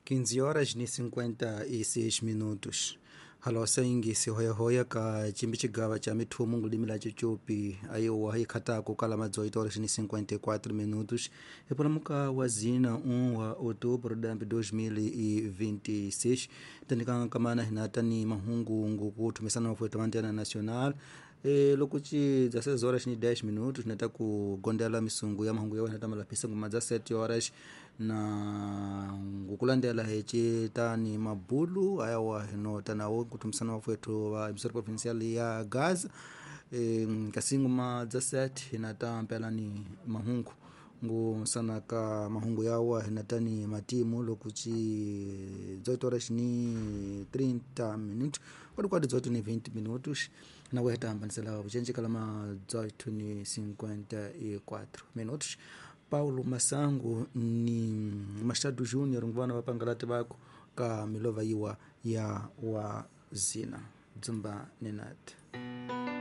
15 horas ni 56 minutos. Halosa ingisi hoyahoya ka chimbi chigava cha mithumu ngulimi la chichupi ayiwa ikhatako kala ma 18 horas ni 54 minutos epulamuka wa zina 1 wa outubro dambi 2026 tandikanga kamana hinata ni mahungu ngukuthumisana mafueta mantena nacional. Loko ci 16 horas ni 10 minutos nata ku gondela misungu ya mahungu ya wena ta malapisa nguma dza 7 horas na ngukulandela heci tani mabulu ayawa hinota nawo kuthumisana mafwethu wa emisora provincial ya Gaza. Kasi nguma dza 7 hinata mpela ni mahungu ngusana ka mahungu yawa hinatani matimu loko ci 18 horas ni 30 minutos kwadi 18 ni 20 minutos na weta hambanisela vucenci kala ma 18 ni 54 minutos. Paulo Masango ni Machado Júnior nguvana vapangalati vako ka milova yiwa ya wazina dzumba nenat.